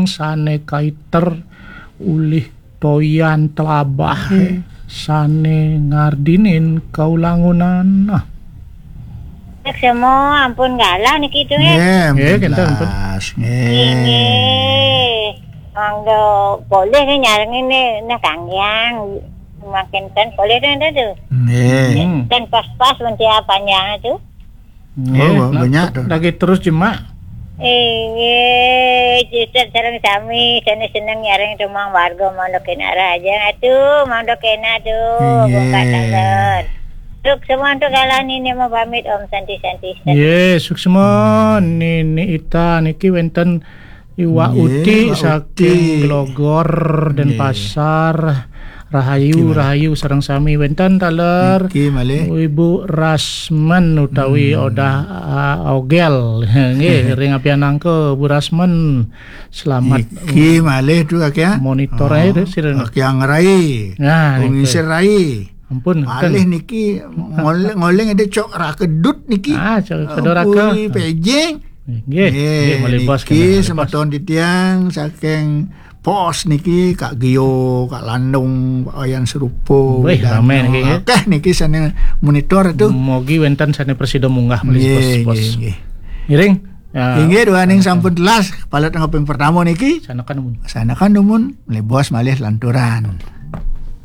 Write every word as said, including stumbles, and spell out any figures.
Sane kaiter ulih toyan telabah, sane ngardinin kaulangunan. Nah. Semua ampun galah niki tu, eh. Nggih, ampun. Nggih, kinten, ampun. Nggih. Mangga polih ni nyarengin ni, nah, kanggiang. Makin ten polih tu, tu. Nggih. Hmm. Ten pas-pas mesti panjang tu. Nggih, oh, nah, banyak tu. Lagi terus jemak. Inggih, Cicit sareng sami, sane seneng nyarengin tumang warga mangda kena raja atu, mangda kena tu, inggih. Bongkak tangan. Untuk semua untuk galah ni, ni mau pamit, Om Santi, Santi, Santi. Nggih, suksma, Nini Ita niki wenten Iwak Uti saking Glogor, Denpasar. Rahayu, rahayu sareng sami wenten taler. Niki malih. Ibu Rasmen utawi Odah, ah, Ogel. Nggih, ring apianangka Bu Rasmen. Selamat. Niki malih tu, Kak, ya. Monitor ae tu, sira. Kak Yang Rai. Nah, niki. Rai. Ampun, malih niki ngoling, ngoling ada cok rakedut niki. Ah, cok kedoraka. Ampun, pejeng. Nggih, nggih, malih bos niki kena, malih bos. Semeton titiang saking pos niki, Kak Gio, Kak Landung, Pak Wayan Serupo. Wih, dan rame niki, nggih. Akeh niki sane monitor tu. Mogi wenten sane prasida munggah malih bos, nggih, bos. Nggih, nggih. Ngiring. Ya, inggih, duaning sampun telas, kepala tengah ping pertama niki. Sanakan dumun. Sanakan dumun, malih bos malih lanturan.